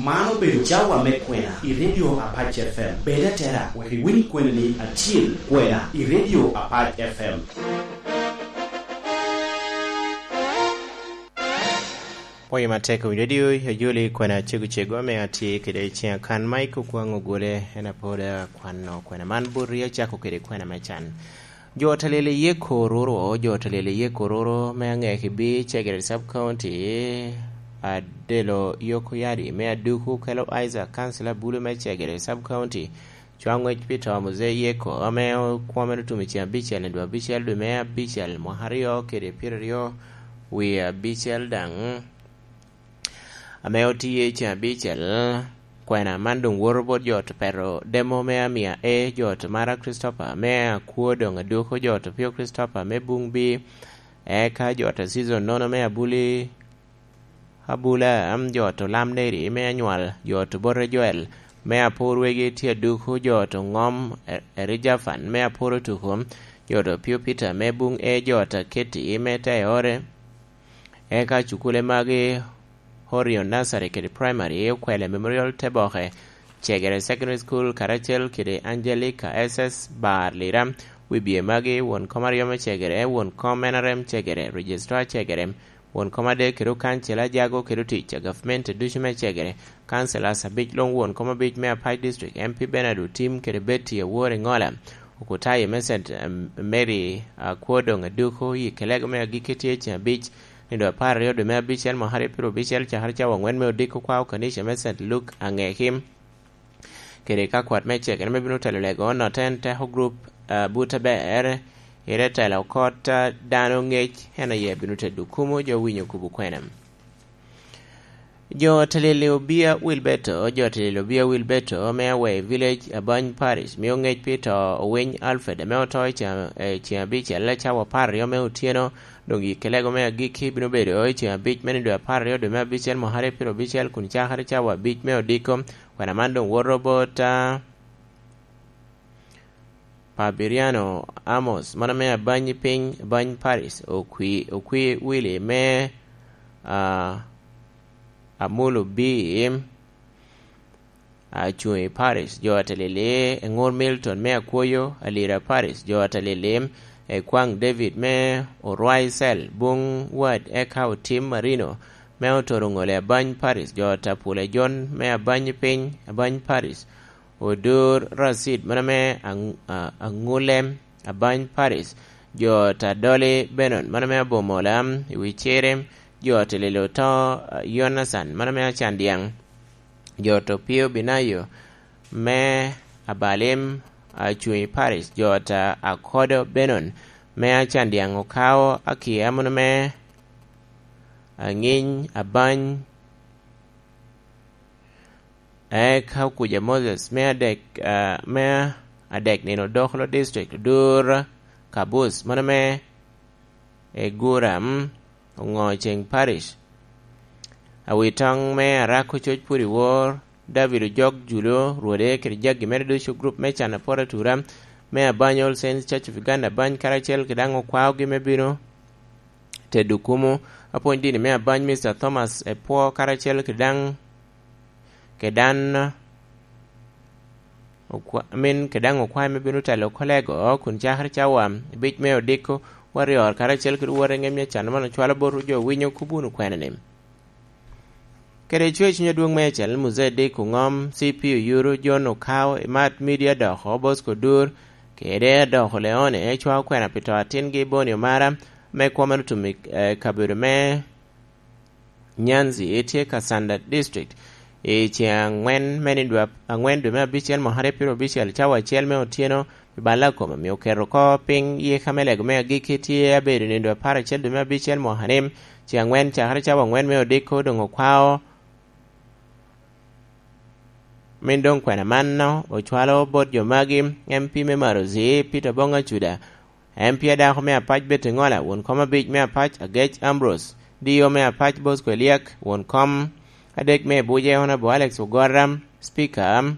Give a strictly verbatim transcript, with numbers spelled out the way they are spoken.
Man obedo cawa me kwena i Radio Apac F M. Bed atera wek iwiny kwenani acil, kwena i Radio Apac F M. Pwoyo matek owiny radio, ojoli kwena cego cego ame atye kede i ciŋa kan. Mike Okwaŋ Ogole en apod akwano kwena man boti, acako kede kwena me can. Jo otelel i Yeko Ruru, jo otelel i Yeko Ruru me Aŋekibi, Cegere Sub County, Adelo Yoko Yadi me Aduku, Kelo Isaac, kansila bulu me Cegere Sub County, cwa ŋwec pi to Muzee Yeko, ame okwome otum i ceng abicel i dwe abicel, dwe me abicel, mwaka aryo kede pyeraryo wie abicel daŋ, ame otiye i ceng abicel. Kwena man doŋ woto bot jo ot Pero Demo me Amia A, jo ot Mara Christopher me Akwo, doŋ Aduku, jo ot Opio Christopher me Buŋ B, eka jo ot Season Nono me Abuli, Abula, am, jo ot Olam Neri me Anywal, jo ot Obote Joel me Apor Wegi tye Aduku, jo ot Oŋom, E-, Eri Jafan me Apor Otuku, jo ot Opio Peter me Buŋ A, jo ot Aketi me Teore, eka cukule magi, Orion Nursery kede Primary, Okwele Memorial Teboke, Cegere Secondary School, karacel kede Angelica S S Bar Lira, wibye magi, won kom aryo me Cegere, won kom N R M Cegere, Registrar Cegere, won kom adek kede okancila Ajago kede otic a gavment ducu me Cegere, councillors abic luŋ, won kom abic me Apac District, M P Bernard Otim kede Betty Awor Iŋola, Okutaye me Saint Mary Akwo, doŋ Aduku, yi kelego me agikki tye i ceng abic, nino apar aryo dwe me abicel, mwaka aryo pyerabicel, cakere cawa aŋwen me odiko kwao kanica me Saint Luke Aŋekim, kede ka kwat me Cegere me bino telo lego, Noten Teko Group, ah, but aber, ire telo kot, ah, dano ŋec, en aye bino tedo kumo jo winyo kubo kwene. Jo otelel i Obia Wilberto, jo otelel i Obia Wilberto me Awei Village, Abany Parish, mio ŋec pi to Owiny Alfred, ame oto i ceng, eh, ceng abicel, cawa apar aryo me otyeno, doŋ yi kelego me agikki bino bedo i ceng abic me nino dwe apar aryo dwe me abicel, mwaka aryo pyerabicel, kun cakere cawa abic me odiko. Kwena man doŋ woto bot, ah, Pabiriano Amos, mano me Abany piny, Abany Parish, Okwi, Okwi Willy me, ah, Amulu B, Acungi Parish, jo atelili, Eŋur Milton me Akwoyo, Alira Parish, jo atelili, Ekwaŋ David me Orwai Cell, Buŋ Ward, eka Otim Marino me Otoro Ŋole, Abany Parish, jo Tapule John me Abany piny, Abany Parish, Odur Racid, mano me Aŋ-, a-, Aŋulem, Abany Parish, jo Tadoli Benon, mano me Abomola, i wi Cirem, jo Tililo to, a, Yonathan, mano me Acandiaŋ, jo Topio Binayo, me Abalim, Acungi Parish, jo ta Akodo Benon, me Acandiaŋ, Okao Akia, mano me Aŋiny, Abany, Eka Okuja Moses me adek, ah, me adek nino Dokolo District, Odur Kabus, mano me Eguram, Oŋo Ceŋ Parish. Awitoŋ me Arako Coc Pwod i Wor, David Ojok Julo, Rwode kede jagi mere ducu, gurup me Can Apor Atura, me Abany All Saints Church of Uganda, Abany karacel kede daŋ okwaogi me bino tedo kumo, apwony dini me Abany, Mister Thomas Epwo, karacel kede daŋ, kede dan, okwa-, amin, kede daŋ okwae me bino telo kolego, kun cakere cawa abic me odiko, warrior, karacel kede wot eŋem ya can man ocwalo bot jo winyo kop wunu kwene ni. Kede cwer cuny adwoŋ meicel, Muzee Dick Oŋom, C P Oyuru, John Okao, Imat Media Doko, Bosco Dur, kede Adoko Leone, cwao kwena pi to atingi Boni Omara, me kwo mere otum i, eh, kabedo me Nyanzi, tye Kasanda District, i ceŋ aŋwen me nino dwe ap-, aŋwen dwe me abicel mwaka aryo pyerabicel, cawa acel me otyeno, i balla kome, omio oketo oko piny yika me lego me agikki tye abedo nino dwe apar acel dwe me abicel mwaka ni, ceŋ aŋwen cakere cawa aŋwen me odiko doŋ okwao. Min doŋ kwena mano ocwalo bot jo magi, M P me Marozi, Peter Bong Acuda, M P adako me Apac Betty Ŋola, won kom abic me Apac Agec Ambrose, D O me Apac Bosco Eliak, won kom adek me Abuja Honorable Alex Ogora, Speaker,